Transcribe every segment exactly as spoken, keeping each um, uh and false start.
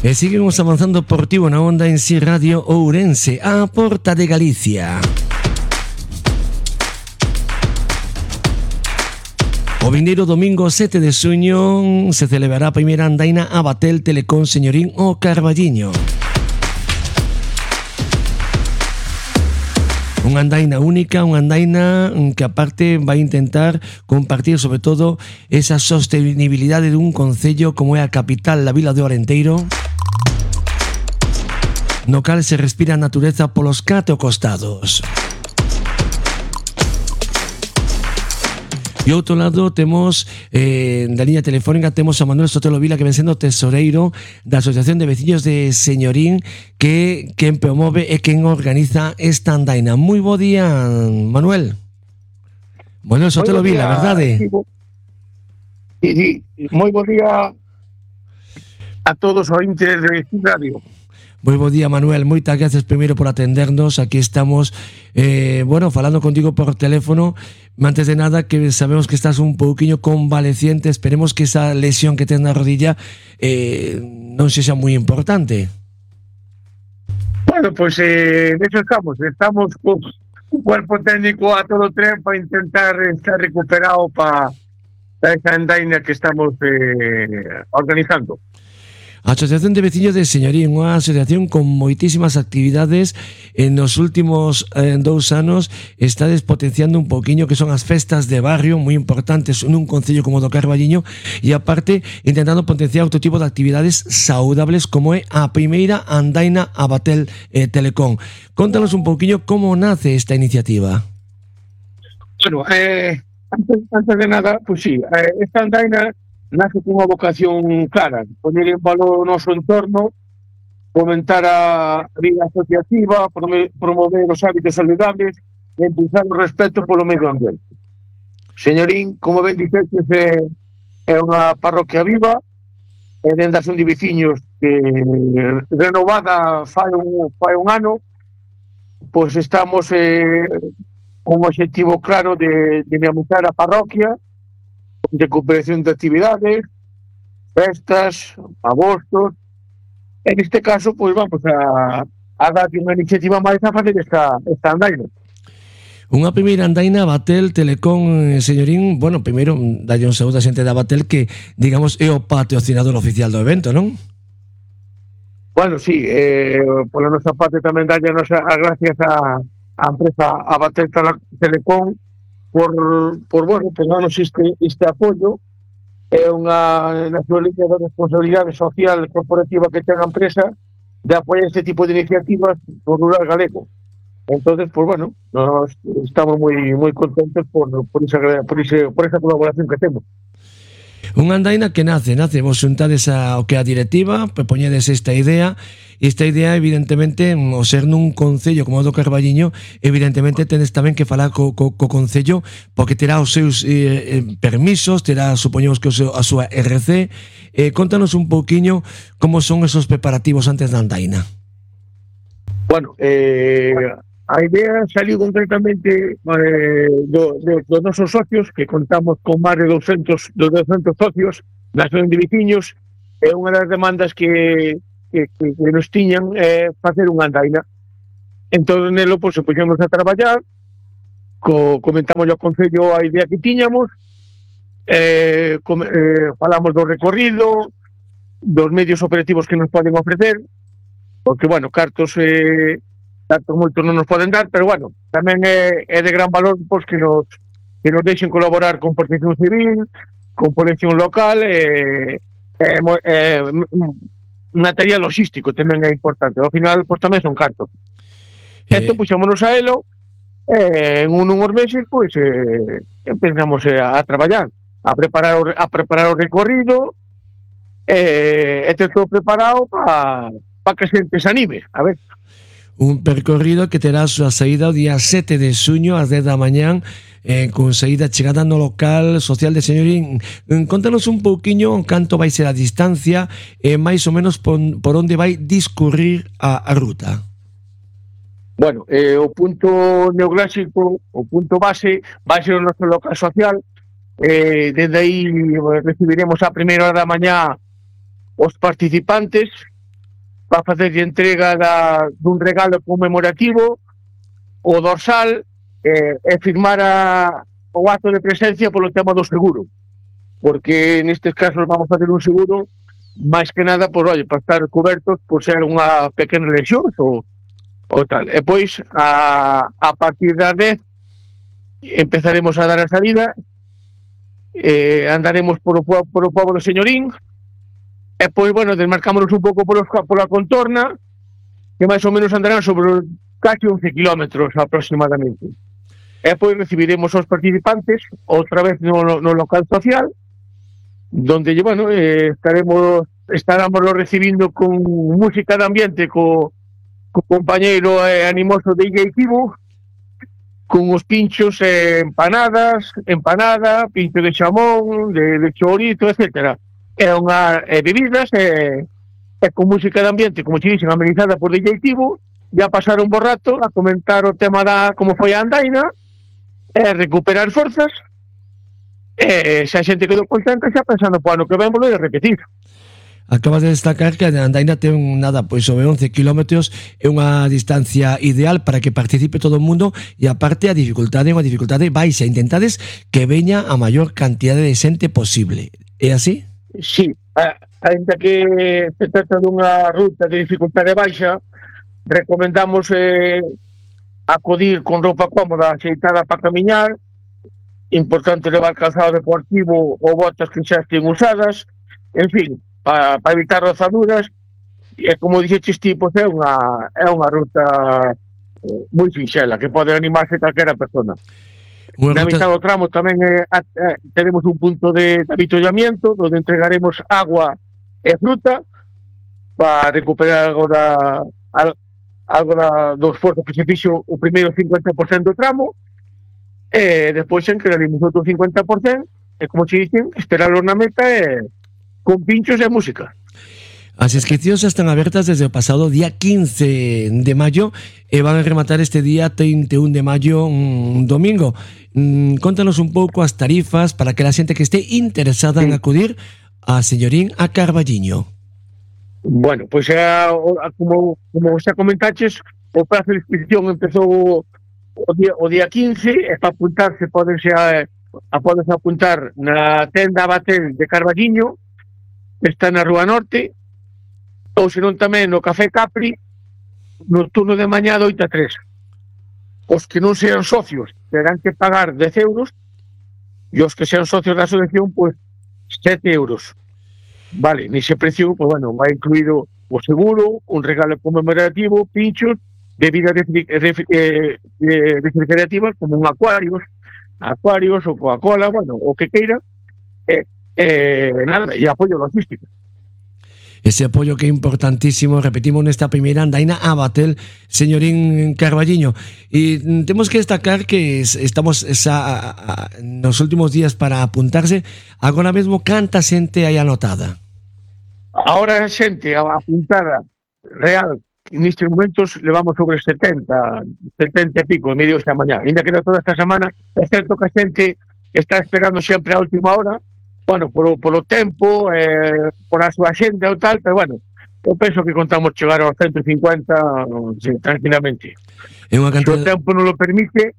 E seguimos avanzando por ti na onda en Si Radio Ourense, a porta de Galicia. O vindeiro domingo sete de xuño se celebrará a primeira andaina a Batel Telecom Señorín o Carballiño. Unha andaina única, unha andaina que aparte vai intentar compartir sobre todo esa sostenibilidade dun concello como é a capital, a vila de Orenteiro, no cal se respira a natureza polos catro costados. E outro lado temos eh, da liña telefónica temos a Manuel Sotelo Vila, que ven sendo tesoreiro da Asociación de Veciños de Señorín, que quen promove e quen organiza esta andaina. Moi bo día, Manuel. Manuel Sotelo Vila, verdade? Sí, sí, moi bo día a todos os ointes de Radio. Moi bo día, Manuel, moitas gracias primeiro por atendernos. Aquí estamos, eh, bueno, falando contigo por teléfono. Antes de nada, que sabemos que estás un pouquiño convaleciente, esperemos que esa lesión que tens na rodilla eh, non sexa moi importante. Bueno, pois pues, eh, de eso estamos, estamos con un cuerpo técnico a todo tren para intentar estar recuperado para pa esa andaina que estamos eh, organizando. A Asociación de Veciños de Señorín, unha asociación con moitísimas actividades. En os últimos eh, dous anos estades potenciando un poquinho que son as festas de barrio, moi importantes nun concello como do Carballiño, e aparte intentando potenciar outro tipo de actividades saudables como é a primeira andaina a Batel eh, Telecom. Contanos un poquinho como nace esta iniciativa. Bueno, eh, antes, antes de nada, pues sí, eh, esta andaina nace con unha vocación clara, poner en valor o noso entorno, fomentar a vida asociativa, promover os hábitos saludables e impulsar o respeto polo medio ambiente. Señorín, como ben dixetes, é, é unha parroquia viva, é dende a Asociación de Veciños que renovada fai un, fai un ano, pois estamos eh, con un objetivo claro de dinamizar a parroquia, de recuperación de actividades, festas, agostos. En este caso, pues vamos a, a dar unha iniciativa máis a facer esta, esta andaina. Unha primeira andaina Batel Telecom Señorín, bueno, primeiro dalle un saúdo a xente da Batel que, digamos, é o patrocinador oficial do evento, non? Bueno, sí, eh, pola nosa parte tamén dalle a nosa a gracias a, a empresa a Batel Telecom por, por bueno, por darnos este, este apoio. É unha naturaleza de responsabilidade social corporativa que ten a empresa de apoiar este tipo de iniciativas no rural galego. Entonces, pues bueno, nos estamos moi moi contentos por, por, esa, por, ese, por esa colaboración que temos. Unha andaina que nace, nace, vos xuntades ao que a directiva, propoñedes esta idea, e esta idea, evidentemente, o ser nun concello como o do Carballiño, evidentemente tenes tamén que falar co, co, co concello, porque terá os seus eh, permisos, terá, supoñemos que o seu, a súa R C. Eh, contanos un pouquiño como son esos preparativos antes da andaina. Bueno, eh... a idea saliu concretamente eh, do, do, dos nosos socios, que contamos con máis de doscientos socios na Asociación de Veciños, e unha das demandas que, que, que, que nos tiñan é eh, facer unha andaina. Entón, nelo, pues, se puxemos a traballar, co, comentamos ao Concello a idea que tiñamos, eh, com, eh, falamos do recorrido, dos medios operativos que nos poden ofrecer, porque, bueno, cartos... Eh, tanto moito non nos poden dar, pero bueno, tamén é, é de gran valor pois, que nos que nos deixen colaborar con Protección Civil, con Policía Local, e é, é, un material logístico tamén é importante. Ao final, pois tamén son cartos. Eh... Entón, puxémonos a elo, e en un, unhos meses, pois, eh, empezamos a, a traballar, a preparar o, a preparar o recorrido, e, e ter todo preparado para pa que a xente se anime, a ver. Un percorrido que terá a súa saída o día sete de xuño ás dez da mañán, eh, con saída chegada no local social de Señorín. Contanos un pouquiño canto vai ser a distancia e eh, máis ou menos por, por onde vai discurrir a, a ruta. Bueno, eh, o punto neoclásico, o punto base, vai ser o noso local social. Eh, desde aí recibiremos a primeira hora da mañá os participantes, va a facer entrega da, dun regalo conmemorativo, o dorsal, eh, e firmar a, o acto de presencia polo tema do seguro, porque nestes casos vamos a facer un seguro máis que nada, por, oye, para estar cobertos por ser unha pequena lesión ou, ou tal. E pois a, a partir da dez empezaremos a dar a salida, eh, andaremos por o, por o pobo do Señorín, e pois, bueno, desmarcámonos un pouco por pola contorna, que máis ou menos andarán sobre casi once kilómetros aproximadamente. E pois recibiremos aos participantes outra vez no, no local social, donde, bueno, eh, estaremos estaremos recibindo con música de ambiente, co, co compañeiro eh, animoso de Illa Itibu, con os pinchos eh, empanadas, empanada, pincho de xamón, de, de chorizo, etcétera. E unha eh, bebidas e, eh, con música de ambiente, como che dixen, amenizada por Illa Itibu, ya pasar un bo rato a comentar o tema da como foi a andaina, e recuperar forzas, e se a xente quedou contenta xa pensando po ano que ven volver a repetir. Acabas de destacar que a andaina ten nada, pois sobre once kilómetros, é unha distancia ideal para que participe todo o mundo, e aparte a dificultade é unha dificultade baixa, intentades que veña a maior cantidade de xente posible. É así? Sí, ainda que se trata dunha ruta de dificultade baixa, recomendamos eh, acudir con roupa cómoda, axeitada para camiñar, importante levar calzado deportivo ou botas que xa estén usadas, en fin, para pa evitar rozaduras, e como dixeches ti, pois é unha, é unha ruta eh, moi sinxela, que pode animarse calquera persona. Unha na ruta... mitad do tramo tamén eh, eh, teremos un punto de avituallamiento, onde entregaremos agua e fruta para recuperar algo da... Al, algo da, do esforzo que se fixo o primeiro cincuenta por ciento do tramo, e despois encararemos outro cincuenta por ciento, e como che dicen, esperarlo na meta e con pinchos e música. As inscripcións están abertas desde o pasado día quince de maio e van a rematar este día trinta e un de maio, un domingo. Mm, contanos un pouco as tarifas para que a xente que este interesada sí. en acudir a Señorín a Carballiño. Bueno, pois pues, como, como xa comentaches, o prazo de inscripción empezou o día, o día quince, e para apuntarse podense a, a podense apuntar na tenda Batel de Carballiño, que está na Rúa Norte, ou senón tamén no Café Capri, no turno de mañá de oito a tres. Os que non sean socios terán que pagar dez euros, e os que sean socios da asociación, pois pues, sete euros. Vale, nese precio, pues bueno, vai incluído o seguro, un regalo conmemorativo, pinchos, bebidas refrigerativas como un acuarios, acuarios ou Coca-Cola, bueno, o que queira, e eh, eh, nada, e apoio logístico. Ese apoio que é importantísimo, repetimos nesta primeira andaina a Batel, Señorín Carballiño. E temos que destacar que estamos esa, a, a, nos últimos días para apuntarse, agora mesmo canta xente aí anotada. Ahora a xente apuntada real, nestes momentos levamos sobre setenta, setenta e pico, e medio esta mañá. Ainda queda toda esta semana, é certo que a xente está esperando sempre a última hora, bueno, polo, polo tempo, eh, por a súa xenda ou tal, pero bueno, eu penso que contamos chegar aos ciento cincuenta sí, tranquilamente. É unha cantidad... Se o tempo non lo permite,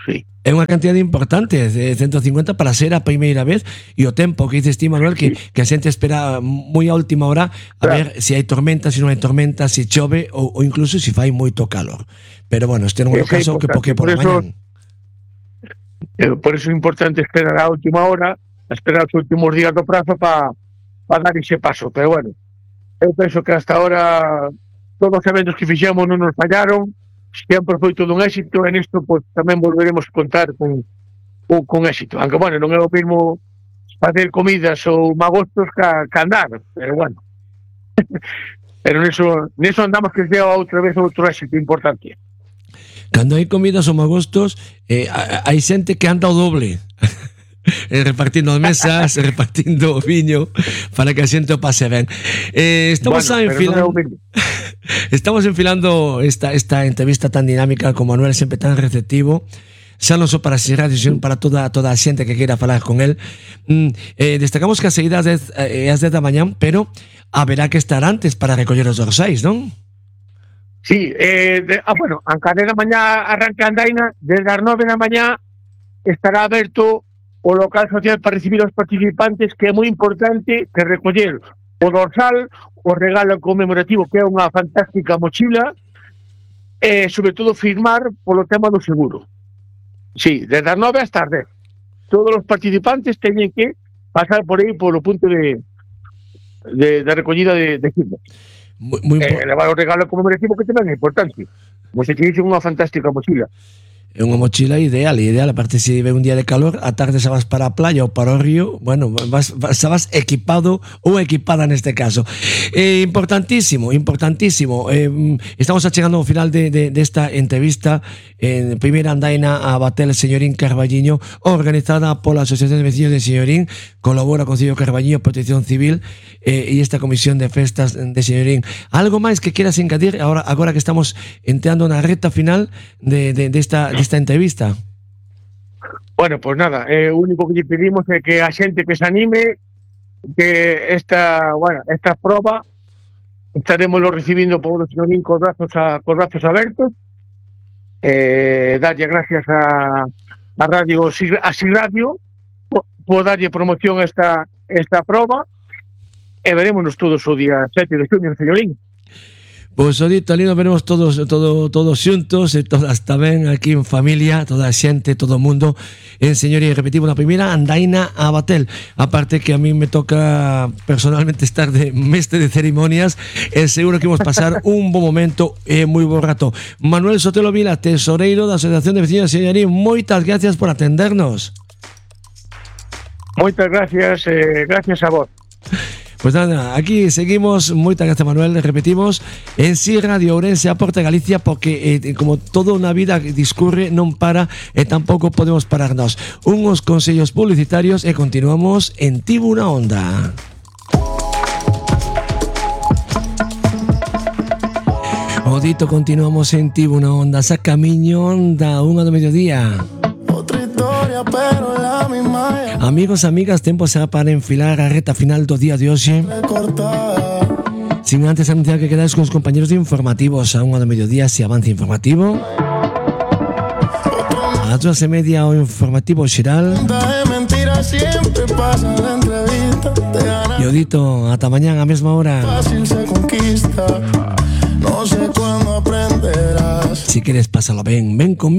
sí. É unha cantidade importante, de ciento cincuenta para ser a primeira vez, e o tempo que dices ti, Manuel, que, que a xente espera moi a última hora a claro. ver se hai tormenta, se non hai tormenta, se chove ou, ou incluso se fai moito calor. Pero bueno, este non é o caso que porque por, por a mañán. Por eso é importante esperar a última hora, esperar os últimos días do prazo para pa dar ese paso. Pero bueno, eu penso que hasta ahora todos os eventos que fixemos non nos fallaron, sempre foi todo un éxito, e nisto pues, tamén volveremos a contar con, con, con éxito. Aunque, bueno, non é o mesmo facer comidas ou magostos que, que andar, pero bueno. Pero neso, neso andamos que sea outra vez outro éxito importante. Cando hai comidas ou magostos, eh, hai xente que anda o doble. repartindo as mesas, repartindo o viño para que a xente o pase ben. Eh, estamos bueno, enfilando no estamos enfilando esta, esta entrevista tan dinámica con Manuel, sempre tan receptivo, xa non só para si radio, sino para toda, toda a xente que queira falar con el. Mm, eh, destacamos que a saída é ás dez da mañán, pero haberá que estar antes para recoller os dorsais, non? Sí, eh, de, ah, bueno, a cada da mañá arranca a andaina, desde as nove da mañá estará aberto o local social para recibir os participantes, que é moi importante que recoller o dorsal, o regalo conmemorativo, que é unha fantástica mochila, e, sobre todo, firmar polo tema do seguro. Sí, desde as nove hasta as dez. Todos os participantes teñen que pasar por aí, polo punto de, de, de recollida de, de firmas. Muy, muy eh, levar o regalo conmemorativo, que tamén é importante. Como se te dice, unha fantástica mochila. É unha mochila ideal, ideal, aparte se ve un día de calor, a tarde xa vas para a playa ou para o río, bueno, vas, vas, xa vas equipado ou equipada neste caso. Eh, importantísimo, importantísimo. Eh, estamos chegando ao final de, de, desta entrevista en primeira andaina a Batel Señorín Carballiño, organizada pola Asociación de Veciños de Señorín, colabora con Concello Carballiño, Protección Civil eh, e esta Comisión de Festas de Señorín. Algo máis que quieras engadir agora, agora que estamos entrando na reta final de, de, de esta de esta entrevista? Bueno, pues nada, eh, o único que lle pedimos é que a xente que se anime, que esta, bueno, esta proba estaremos lo recibindo por o Señorín cos brazos, a, cos brazos abertos, eh, darlle gracias a, a Radio a Si Radio por, por darlle promoción a esta, esta proba, e verémonos todos o día sete de xuño en Señorín. Pois o dito, ali nos veremos todos todo, todos xuntos e todas tamén aquí en familia, toda a xente, todo o mundo en Señorín. Repetimos, na primeira andaina a Batel, aparte que a mí me toca personalmente estar de mestre de ceremonias, e seguro que vamos pasar un bo momento e moi bo rato. Manuel Sotelo Vila, tesoreiro da Asociación de Veciños de Señorín, moitas gracias por atendernos. Moitas gracias, eh, gracias a vos. Pues nada, aquí seguimos, moitas gracias Manuel, repetimos, en Si Radio Ourense, aporta Galicia, porque eh, como toda unha vida discurre, non para e tampouco podemos pararnos. Unhos consellos publicitarios e continuamos en Tivo unha Onda. O dito, continuamos en Tivo unha Onda, sa camiño da unha do mediodía. Pero la misma... Amigos, amigas, tempo será para enfilar a reta final do día de hoxe. Sin antes anunciar que quedáis con os compañeros de informativos a unha do mediodía, se avance informativo. A dúas e media o informativo xeral. E o dito, ata mañán a mesma hora. Si queres pasalo ben, ven conmigo.